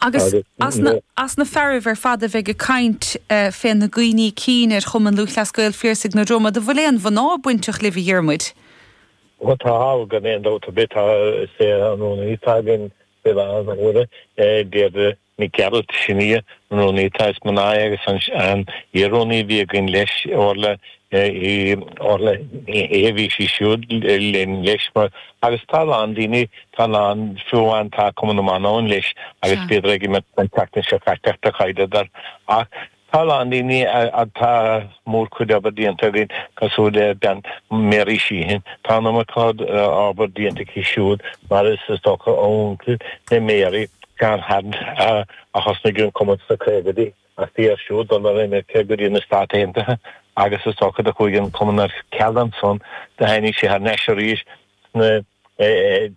Agus as na, as na fearaibh ar fad a bheidh ag caint fé na gcuimhní cinn ar Chumann Lúthchleas Gael Phiarsaigh na Dromad, an bhfuil aon mhná bainteach libh, a Dhiarmuid? Bhuel tá, gan aon dabht ar bith, tá, is é an rúnaí atá againn faoi láthair na huaire, Deirdre Nic Gearailt, sin í an rúnaí atá, is mná í agus an iar-rúnaí a bhí againn leis, Orla í Orla Ní Shé, bhí sí siúd linn leis mar agus tá a lán daoine, tá a lán, fiú amháin tá Cumann na mBan ann leis agus bhíodar ag imirt an tseachtain seo caite ach do chailleadar ach tá a lán daoine tá mórchuid obair déanta againn cosúil le bean Mary Sheehan, tá an iomarca obair déanta aici siúd mar is is dócha a uncail le Mary, Seán Harned a thosnaigh an cumann sna caogaidí. Ach bhí air siúd dul ar imirce go dtí na Stáit Aontaithe agus is dócha do chuaigh an cumann ar ceal ansan. Do tháinig sé thar n-ais arís sna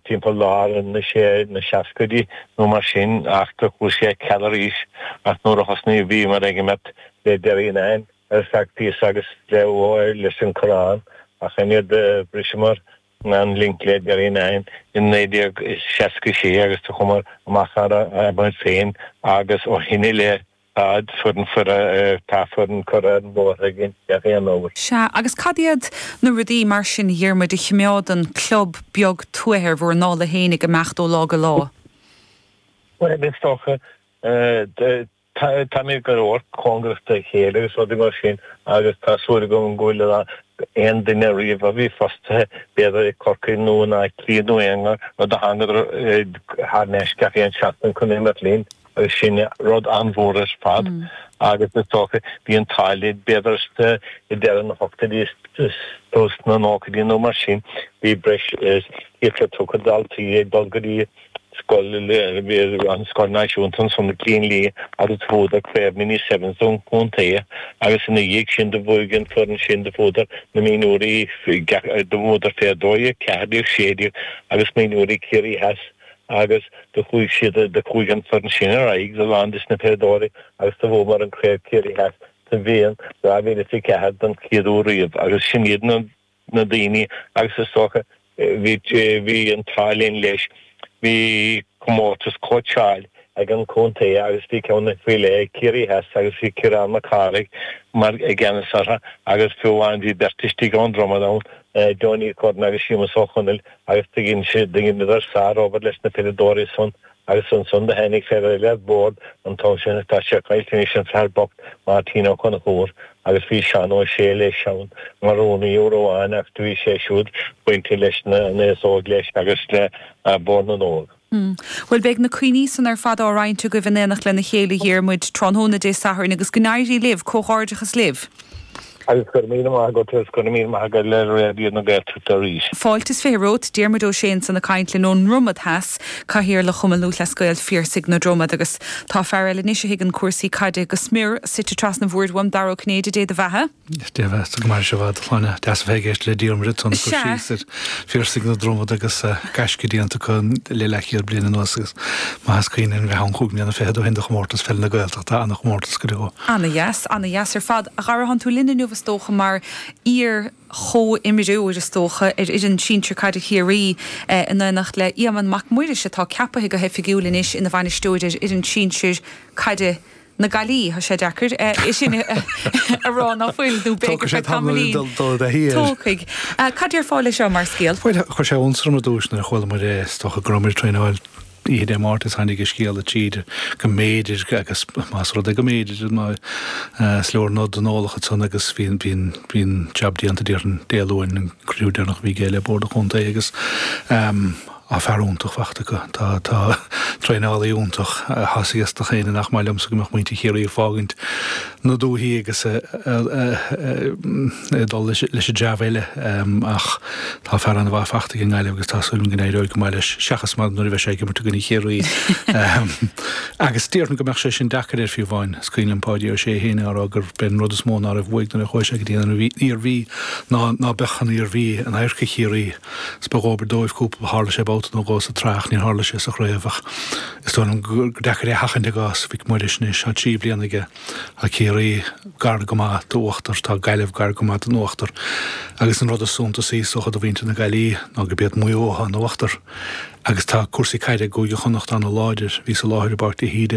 timpeall lár na sé na seascaidí nó mar sin ach do chuaigh sé ar ceal arís ach nuair a thosnaigh bhíomar ag imeacht le Derrynane ar feadh píosa agus le leis an Corrán ach ansin do bhriseamar an link le Derrynane in 1966 agus do chuamar amach ar ár muid féin agus ó shin i leith tá foireann tá foireann curtha ar an bhóthar againn gach aon uair. Sea, agus cad iad na rudaí mar sin, a Dhiarmuid, a chimeádann club beag tuaithe ar bhur ndála féin ag imeacht ó lá go lá? Bhuel, is dócha, Táimid go leor cóngarach dá chéile agus rudaí mar sin agus tá súil agam go bhfuil aon duine riamh a bhí fostaithe, b'fhéidir i Corcaigh nó in Áth Cliath nó aon rud a thángadar thar n-ais gach aon seachtain chun imirt linn agus sin rud an-mhór ar fad agus is dócha bhí an t-ádh linn b'fhéidir i deireadh na hochtóidí is tús na nóchaidí nó mar sin bhí breis is 130 daltaí ag dul go dtí Scoil an Scoil Náisiúnta ansan i gCluain Liath agus bhuadar Craobh Mini Sevens don chontae agus ina dhiaidh sin do bhuaigh an foireann sin do bhuadar na mionúirí do bhuadar fé 12, 14, 16 agus mionúirí Ciarraí Theas agus do chuaigh siad do chuaigh an foireann sin ar aghaidh a lán des na peileadóirí agus do bhuamar an Craobh Ciarraí Theas sa bhliain 2004 don chéad uair riamh agus sin iad na na daoine agus is dócha bhí bhí an t-ádh linn leis bhí comórtas cóitseáil ag an chontae agus bhí ceann faoi leith ag Ciarraí Theas agus bhí Ciarán Mac Cárthaigh mar i gceannas orthu agus fiú amháin bhí beirt istigh ón Dromad ann Johnny Curran agus Séamus Ó Conaill agus do dhein siad do dheineadar sár-obair leis na peileadóirí san Agus ansan do tháinig fear eile ar bord an t-am sin, tá sé caillte anois, an fear bocht, Máirtín Ó Conchúir, agus bhí Seán Ó Sé leis ann mar rúnaí uair amháin ach do bhí sé siúd bainte leis an aos óg leis agus le Bord na nÓg. Bhuel, beidh na cuimhní san ar fad á roinnt agaibh in éineacht lena chéile, a Dhiarmuid, tráthnóna Dé Sathairn agus go n-éirí libh, comhghairdeachas libh. Agus go raibh míle maith agat agus go raibh míle maith agat le Raidió na Gaeltachta arís. Fáilte is 20 romhat, Diarmuid Ó Sé ansan ag caint linn ón nDromad Theas, Cathaoirleach Chumann Lúthchleas Gael Phiarsaigh na Dromad agus tá fear eile anois a thuigeann cúrsaí caide go smior suite trasna an bhoird uaim, Dara Ó Cinnéide, Dé do bheatha. Dé do bheatha, go maire sibh a Shláine. Deas a bheith ag éisteacht le Diarmuid ansan ag cur síos ar Phiarsaigh na Dromad agus gaisce déanta acu le leathchéad bliain anuas agus maith is cuimhin linn bheith ann chúig mbliana fichead ó shin do chomórtas pheile na Gaeltachta, ana-chomórtas go deo. Ana-dheas, ana-dheas ar fad. A Dhara, thánn tú linn inniu is dócha mar iar-chomhimreoir is dócha ar fhoireann sinsir caide Chiarraí in éineacht le Éamonn Mac Muiris atá ceapaithe go hoifigiúil anois ina bhainisteoir ar fhoireann sinsir caide na Gaillimhe. Tá sé deacair é sin a rá ná fuil nó b'fhéidir feadh tamaillín. Tógfaidh. Cad déarfá leis seo mar scéal? Bhuel, chuir sé iontas orm ar dtús nuair a chuala muid é, is dócha go raibh muid ag traenáil Oíche Dé Máirt is tháinig an scéala tríd go mb'fhéidir, agus más rud é go mb'fhéidir, ná is leor nod don eolach ansan agus bhí an bhí an jab déanta déarfainn Dé Luain, an cruinniú deireanach a bhí aige le Bord an Chontae agus tá fear iontach fachta acu. Tá tá traenálaí iontach. Tá a fhios ag gach éinne nach maith liomsa go mbeadh muintir Chiarraí ag fágaint na dúichí agus ag dul leis an dtreabh eile ach tá fear an-mhaith fachta ag an nGaillimh agus tá súil agam go n-éireoidh go maith leis, seachas mar nuair a bheidh sé ag imirt i gcoinne Chiarraí. Agus déarfainn go mbeadh sé sin deacair air fiú amháin. Is cuimhin liom Páidí Ó Sé féin á rá gurb é an rud is mó ná raibh uaidh nuair a chuaigh sé go dtí an Iarmhí ná ná beadh an Iarmhí in adharca Chiarraí. Is ba dhóbair dóibh cúpla, tharla sé babhta. babhta nó dhó sa tsraith ach níor tharla sé sa chraobh ach is dóigh liom gur deacair é a sheachaint i gcás Mhic Muiris anois. Tá 3 bliana aige. Tá Ciarraí gar go maith d'uachtar, tá Gaillimh gar go maith don uachtar agus an rud is suntasaí is dócha do mhuintir na Gaillimhe ná gurb iad Maigh Eo atá in uachtar agus tá cúrsaí caide i gCúige Chonnacht ana-láidir. Bhíos i láthair i bPáirc de hÍde.